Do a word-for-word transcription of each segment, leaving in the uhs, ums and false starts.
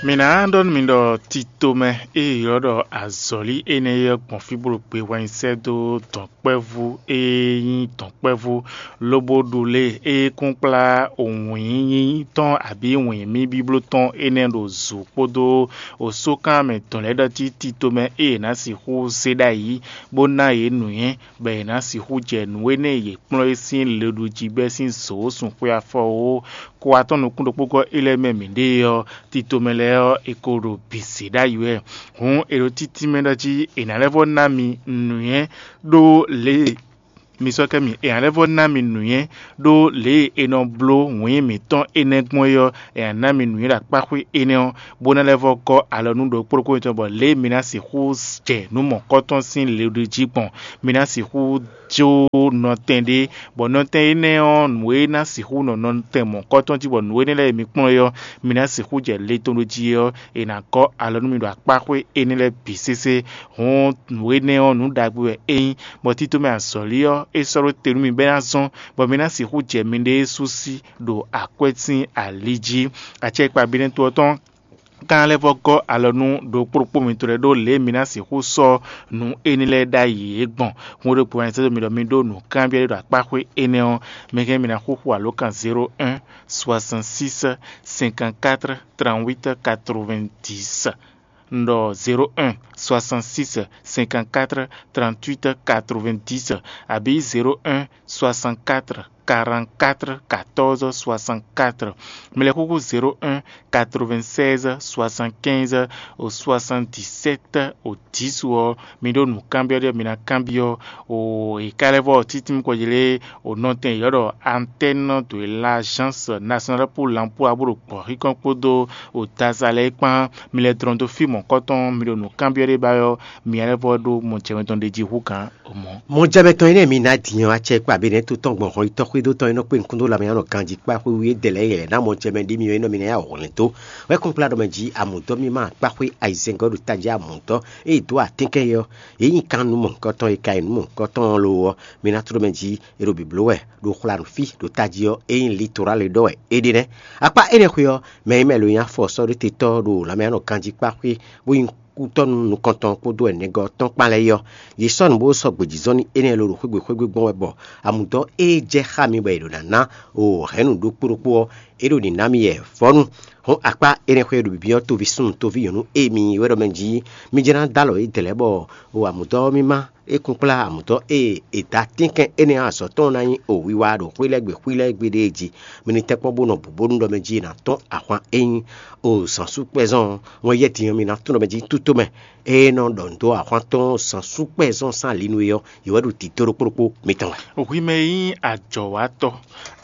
Mǐ ná ɖɔ nú mi ɖɔ titomɛ e è ylɔ́ ɖɔ azɔ̌lí énɛ́ ɔ́ gbɔn fí bó ɖo gbe hwɛnyi sɛ́ dó dɔ̌nkpɛvú e nyí dɔ̌nkpɛvú lobo ɖu lě e é kún kplá wǐnyínyí tɔn abǐ wǐnmí bíbló tɔn énɛ́ ɖo zǔ kpódó osókan mɛ tɔn lɛ́ɛ ɖɔ cí titomɛ e è nǎ sixú zé ɖ'ayǐ bó ná yě nǔnywɛ́, bɔ è nǎ sixú jɛ nǔ énɛ́ e yě kplɔ́n é sín leɖujígbɛ́ sín zǒ sun xwé afɔ ó. Kó wá tɔ́n nukún ɖokpógɔ́ é lɛ́ɛ mɛ mǐ ɖe ɔ́, tito mɛ lɛ́ɛ ɔ́, è ko ɖo bǐ zě ɖ'ayǐ wɛ. Hǔn è ɖo títí mɛ ɖɔ jí è nǎ lɛ́ vɔ́ ná mi nǔnywɛ́ ɖó lě e mi sɔ́ kɛ mi è nǎ lɛ́ vɔ́ ná mi nǔnywɛ́ ɖó lě e è nɔ bló wǐin mǐtɔn énɛ́ gbɔn é ɔ́, è nǎ ná mi nǔnywɛ́ ɖo akpáxwé énɛ́ ɔ́, bó ná lɛ́ vɔ́ gɔ́ alɔ nú ɖokpó ɖokpó mitɔn, bɔ lě e mi ná sixú jɛ nǔ mɔ̌kɔtɔn sín le ɖé jí gbɔn. Mi ná sixú jó nɔtɛn ɖé, bɔ nɔtɛn énɛ́ ɔ́, nǔ e ná sixú nɔ nɔtɛn mɔ̌kɔtɔn jí, bɔ nǔ énɛ́ lɛ́ɛ e mi kplɔ́n é ɔ́, mi ná sixú jɛ le tɔn ɖó jí é ɔ́, è nǎ gɔ́ alɔ nú mi ɖo akpáxwé énɛ́ lɛ́ɛ bǐ sésé. Hǔn nǔ énɛ́ ɔ́, nǔ ɖagbe wɛ é nyí, bɔ tito mɛ azɔ̌lí ɔ́, é sɔ́ ɖó te nú mi bɔ é ná zɔ́n, bɔ mi ná sixú jɛ miɖée sú sí ɖo akwɛ́ sín ali jí. Acɛkpa binɛ́to ɔ́ tɔn ka ná lɛ́ vɔ́ gɔ́ alɔ nú ɖokpó ɖokpó mitɔn lɛ́ɛ ɖó lě e mi ná sixú sɔ́ nǔ énɛ́ lɛ́ɛ ɖ'ayǐ é gbɔn. Hǔn ɖokpó wɛ nyí sɛ́ dó mi ɖɔ mi ɖó nǔkanbyɔ́ ɖé ɖo akpáxwé énɛ́ ɔ́, mi hɛn mi ná xúxú alǒkan zéro un soixante six cinquante quatre trente huit quatre vingt dix. Un ɖɔ zéro un soixante six cinquante quatre trente huit quatre vingt dix abǐ zéro un soixante quatre quarante quatre quatorze soixante quatre. Mi lɛ́ xúxú zéro un quatre vingt seize soixante quinze soixante dix sept dix ɔ́, mi ɖó nǔkanbyɔ́ ɖé mi ná kanbyɔ́. O è ka lɛ́ vɔ títí kɔ jlé o nɔtɛn yɔ́ ɖɔ antenne de l'agence nationale pour l'emploi bó ɖo gbɔ̌xíkɔ́n kpódó o daza lɛ́ɛ kpán. Mi lɛ́ dlɔ́n dó fí mɔ̌kɔtɔn, mi ɖo nǔkanbyɔ́ ɖé ba ɔ́, mi lɛ́ vɔ ɖó mɔjɛmɛ tɔn ɖe jí hú gǎn. Mɔjɛmɛ tɔn énɛ́ mi ná din ɔ́, acɛ kpó abǐ nɛ́ tó tɔn gbɔn hɔn yi tɔ́xwé dó tɔn e nɔ kpé nukún dó lanmɛ nɔ ganjí kpá xwé wú é dɛ lɛ́ɛ yɛlɛ ná mɔjɛmɛ ɖé mi ɔ́, é nɔ mi ná yá hwlɛ́n dó. Wɛ kɔn kplá ɖɔ mɛ jí amǔdɔ́ mímá kpá xwé ayizɛ́ngɔ́ ɖo tají amǔdɔ́ e dó atɛ́nkɛ́ yɛ ɔ́, yě nyi kan nǔ mɔ̌hunkɔtɔn e ka nyí nǔ mɔ̌hunkɔtɔn ɔ́ lo ɔ́, mi ná tló mɛ jí è ɖo bǐbló wɛ ɖo xwla nǔ fí ɖo tají ɔ́, é nyí litorali ɖɔ wɛ é ɖe nɛ́. Akpá énɛ́ xwé ɔ́, mɛ e mɛ lo nyí afɔ sɔ́ ɖó te tɔ́ ɖo lanmɛ nɔ ganjí kpá xwé bó nyí kútɔ́ nú nukɔntɔn kpódó ɛnɛgɔ́ tɔn kpán lɛ́ɛ é ɔ́, yě sɔ́ nǔ bó sɔ́ gbějízɔ́n n'i énɛ́ lɔ ɖo xwé gbe xwé gbe gbɔn wɛ bɔ amǔdɔ́ ée jɛ xá mi bɔ è ɖǒ ná ná o hɛ̌nnu ɖokpó ɖokpó ɔ́, é ɖo nǐ ná mi yɛ vɔ́nu. Hɔn akpá énɛ́ xwé ɖo bǐbí ɔ́, toví súnnu toví nyɔ̌nu e mi nyí wɛ ɖɔ mɛ jí mi jɛ ná dó alɔ yědɛɛ lɛ́ɛ bɔ o amǔdɔ́ ɔ́ mímá é kún kplá amǔdɔ́ e è dǒ atínkɛn énɛ́ ɔ́ azɔ̌ tɔn ná nyí o wiwa ɖo xwí lɛ́ɛ gbe xwí lɛ́ɛ gbe ɖée jí. Mi ní tɛ́nkpɔ́n bó nɔ bǔ bónú ɖɔ mɛ jí è nǎ tɔ́n ahwan e nyí o zǎnsúkpɛ́zɔn ɔ́, wɛn yɛ́ din ɔ́ mi ná tunɔ mɛ jí tútomɛ. Ée nɔ ɖɔ nǔ dó ahwan tɔn zǎnsúkpɛ́zɔn sín ali nú é ɔ́, yě wɛ ɖo tito ɖokpó ɖokpó mitɔn wɛ. Hwi mɛ e nyí ajɔ̌watɔ́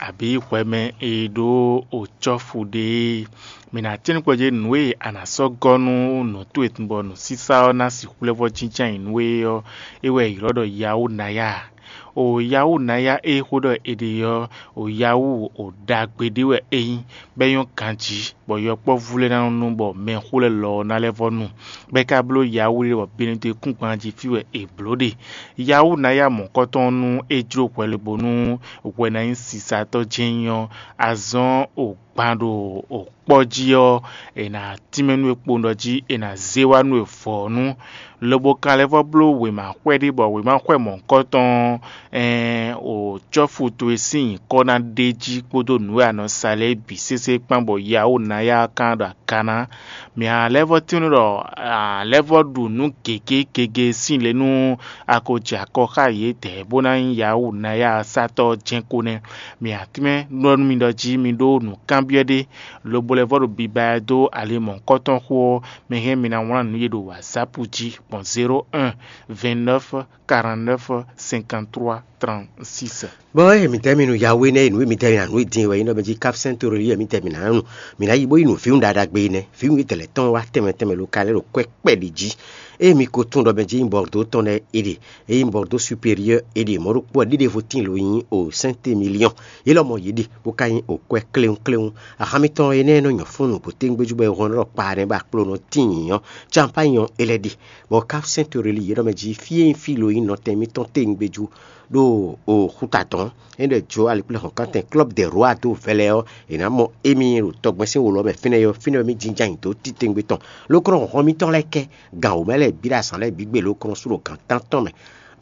abǐ hwɛmɛ e ɖó o cɔ́fu ɖe é, mǐ ná tɛ́n nukɔn jí nǔ e a nǎ sɔ́ gɔ́ nú nǔ towe bɔ nǔsísá ɔ́ ná sixú lɛ́ vɔ́ jínjɔ́n ayǐ nú we ɔ́, é wɛ è ylɔ́ ɖɔ Yawunaya. O Yawunaya e xó ɖɔ è ɖe ɔ́, o Yawu o ɖagbe ɖé wɛ é nyí, bɔ é nyɔ́ ganjí, bɔ yɔkpɔ́vú lɛ́ɛ ná nɔ nu bɔ mɛxó lɛ́ɛ lɔ ɔ́ ná lɛ́ vɔ́ nu. Bɔ é ka bló Yawu ɖé bɔ Benɛdekúngban jí fí wɛ è blǒ ɖe. Yawunaya mɔ̌kɔtɔn nú é jló hwɛ lobo nú hwɛ ná nyí sisatɔ́ jɛ́n nyí ɔ́, azɔn o gban ɖo o kpɔ́ jí ɔ́, è nǎ tínmɛ nú we kpowun ɖɔ jí è nǎ zé wá nú we vɔ̌nu, lobo ka lɛ́ vɔ́ bló wěma xwɛ ɖé bɔ wěma xwɛ mɔ̌hunkɔtɔn ɔ́, ɛɛn, o cɔ́fu towe sín nyǐkɔ ná ɖ'é jí kpódó nǔ e a nɔ sa lɛ́ɛ bǐ sésé kpán bɔ Yawunaya ɔ́ ka ɖo aga ná. Mǐ a lɛ́ vɔ́ tínmɛ ɖɔ a lɛ́ vɔ́ ɖu nǔ gěgé gege sín le nú a ko jɛ akɔ xá yědɛɛ bó ná nyí Yawunaya ɔ́ sátɔ́ jɛ́n ko nɛ́. Mǐ a tínmɛ ɖɔ nú mi ɖɔ jí mi ɖó nǔkanbyɔ́ ɖé, lobo lɛ́ vɔ́ ɖo biba ɛ dó ali mɔ̌hunkɔtɔn xó ɔ́, mi hɛn mi ná wlán nǔ ye ɖo WhatsApp jí gbɔn zéro un vingt-neuf quarante-neuf cinquante-trois trente-six. Bɔ eye mi tɛ mi nu Yahweh nɛ, nu mi tɛ mi na nu din wɛ yin dɔ mi ji kapsɛn toroli yɛ mi tɛ mi na nu. Mi na yi bo yi nu fiun ɖaɖa gbe nɛ, fiun yi tɛlɛ tɔn wa tɛmɛ tɛmɛ lo ka lɛ ɖo kwɛ kpɛ ɖi ji. Ée mi ko tunwun ɖɔ mɛ jí nyí Bɔrdó tɔn lɛ́ɛ é ɖe, é nyí Bɔrdó superieur é ɖe, mɔ̌ ɖokpó wɛ ɖiɖevo tíin lo nyí o Sɛnte Miliyɔn. Yě lɔmɔ̌ yě ɖe, bó ka nyí o kwɛ́ kléwún kléwún. Axán mitɔn énɛ́ e nɔ nyɔ fún nǔgbó téwúngbéjú bɔ è hɔn ɖɔ kpa nɛ́ bɔ akpló nɔ tíin ɔ́, canpány ɔ́ é lɛ́ ɖe. Bɔ Cap Saint Aurélie yě ɖɔ mɛ jí fí e nyí fí lo nyí nɔtɛn mítɔn téwúngbéjú ɖo o xúta tɔn. É ɖɔ jǒ alikplɛ́hɔ̌nkántɛn Club des Rois dó vɛlɛ ɔ́, è nǎ mɔ émí ɖo tɔgbɛ́n sín wǒ lɔ́ mɛ fínɛ́ ɔ́, fínɛ́ ɔ́ mì jínjɔ́n ayǐ dó títewungbe tɔn. Lókɔ́nɔ hlɔ̌nhlɔ́n mítɔn lɛ́ɛ kɛ gan wǒ mɛ lɛ́ɛ bǐ ɖo azǎn lɛ́ɛ bǐ gbe lókɔ́nɔ sú ɖo gan tántɔn mɛ.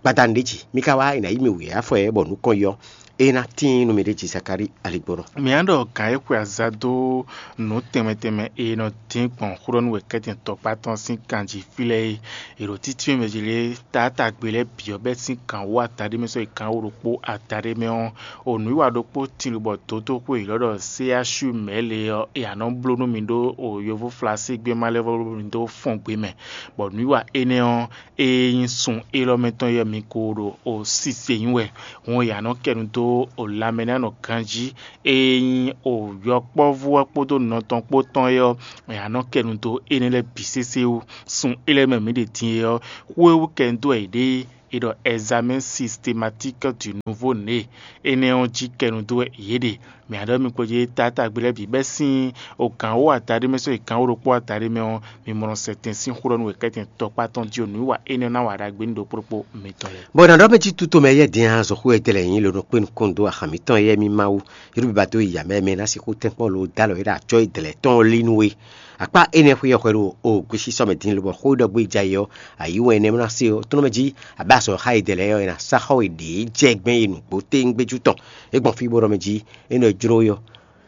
Gbadanu ɖě jí, mi ka wá è nǎ yí mì wǔyá fɔ ɛ bɔ nǔ kɔn yɔ. É ná tíin nú mi ɖě jí Zakalíi aligbɔnɔ. Mǐ á ɖɔ gǎn e xwe aza dó nǔ tɛnmɛ tɛnmɛ e nɔ dín gbɔn xó ɖɔ nú wěkɛ́tɛn tɔkpá tɔn sín kan jí fí lɛ́ɛ é, è ɖo títí mɛ jí lé taátagbe lɛ́ɛ bǐ ɔ́ bɛ́ sín kan wú adaɖé mɛ sɔ́ yi kan wú ɖokpó adaɖé mɛ ɔ́, o nǔwiwa ɖokpó tin lobɔ dǒdó xwe yěɖɔ ɖɔ C H U mɛ̌ le ɔ́, è nǎ nɔ bló nú mi ɖó o yovóflásígbé ma lɛ́ɛ vɔ bló mi dó fɔ́n gbe mɛ, bɔ nǔwiwa énɛ́ ɔ́, e nyí sun élɔ́ mɛ tɔn yɔ mi ko ɖo o sise nyí wɛ. Hǔn è nǎ nɔ kɛ nu dó o lanmɛnánɔ ganjí, e nyí o yɔkpɔ́vú ɔ́ kpódó nɔ tɔn kpó tɔn é ɔ́, è nǎ nɔ kɛ nu dó énɛ́ lɛ́ɛ bǐ sésé wú. Sun élɔ́ mɛ mǐ ɖe din é ɔ́, xwé wú kɛ nu dó wɛ yě ɖe é ɖɔ examen systématique du nouveau né. Énɛ́ ɔ́ jí kɛ nu dó wɛ yě ɖe. Mǐ á ɖɔ mi kpo jí taátagbe lɛ́ɛ bǐ bɛ́ sín o gǎn wó adaɖé mɛ sɔ́ yi gǎn wó ɖokpó adaɖé mɛ ɔ́, mi mɔ nɔ sɛ tɛn sín xó ɖɔ nú wěkɛ́tɛn tɔkpá tɔn jí o nǔwiwa énɛ́ ɔ́ ná wa ɖagbe ní ɖokpó ɖokpó mitɔn lɛ́ɛ. Bɔ nǎ ɖɔ mɛ jí tutó mɛ yɛ din azɔ̌ xó wɛ dɛ lɛ̌ nyí lǒ nɔ kpé nukɔn dó ahan mǐtɔn yɛ mí Mawu, yě ɖo biba dó yi amɛ mɛ ná sixú tɛ́nkpɔ́n lo dó alɔ yě ɖo acɔ́ yi dɛ̌lɛ̌ tɔn ɔ́ lí nú we. Akpá énɛ́ xwé ɔ́ hwɛ ɖo o gbe sísɔ mɛ din lobɔ xó ɖɔ gbé ja yi ɔ́, ayǐ wɛn énɛ́ ná se ɔ́, tónɔ mɛ jí abɛ azɔ̌ xá yi dɛ̌lɛ̌ ɔ́, è nǎ sá xɔ we ɖě jɛ gbɛn yi nǔgbó téŋgbéjú tɔn. É gbɔn fí bó ɖɔ mɛ jí é nɔ jló we ɔ́,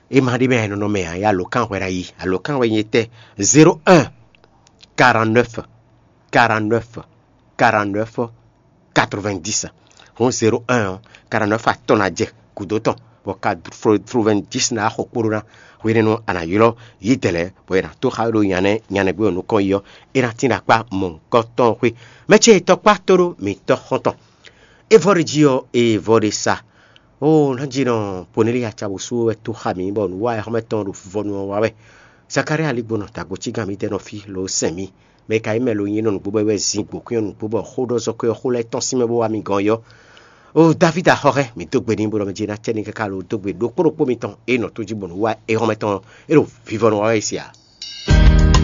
é ma ɖi mɛ nɔ nɔ mɛ ǎ, ya alǒkan hwɛ ná yi. Alǒkan hwɛ nyí etɛ́? Zéro un, quarante-neuf, quarante-neuf, quarante-neuf, quatre-vingt-dix. Hɔn zéro un ɔ́, quarante-neuf atɔn ná jɛ gǔdo tɔn, bɔ quatre-vingt-dix ná xɔ kpóɖó ná. Hwenɛ́nu a nǎ ylɔ́ yí dɛ̌ lɛ́ɛ, bɔ è nǎ tó xá we ɖo nyanɛ nyanɛgbé ɔ́ nukɔn yi ɔ́, é ná tín ɖo akpá mɔ̌hunkɔtɔn ɔ́ xwé. Mɛ ce tɔkpá tó ɖó mǐtɔn xɔ́ntɔn. É vɔ ɖe jí ɔ́, é vɔ ɖe sa. Oo, nɔ́ jí nɔ Poneli aca bó sú wɛ tó xa mǐ, bɔ nǔ wa xɔ́mɛ tɔn ɖo vɔvɔnu ɔ́ wa wɛ. Zakalía aligbɔnɔ dagbo cígán mǐtɛn nɔ fí lo sɛn mì. Mɛ e ka nyí mɛ lo nyí nɔ nǔgbó bɔ é wɛ zin gbǒkwín ɔ́ nǔgbó bɔ xó ɖɔ zɔ́kwɛ́ ɔ́ xó lɛ́ɛ tɔ́n sín mɛ bó wá mi gɔn yɔ. Oo, Davídi axɔxɛ, mǐ dó gbe n'i bó ɖɔ mɛ jí ná cɛ ní káká lo dó gbe ɖokpó ɖokpó mitɔn e nɔ tó jí bɔ nǔ wa é xɔ́mɛ tɔn ɔ́, é ɖo vivɔnu wa wɛ é se ǎ.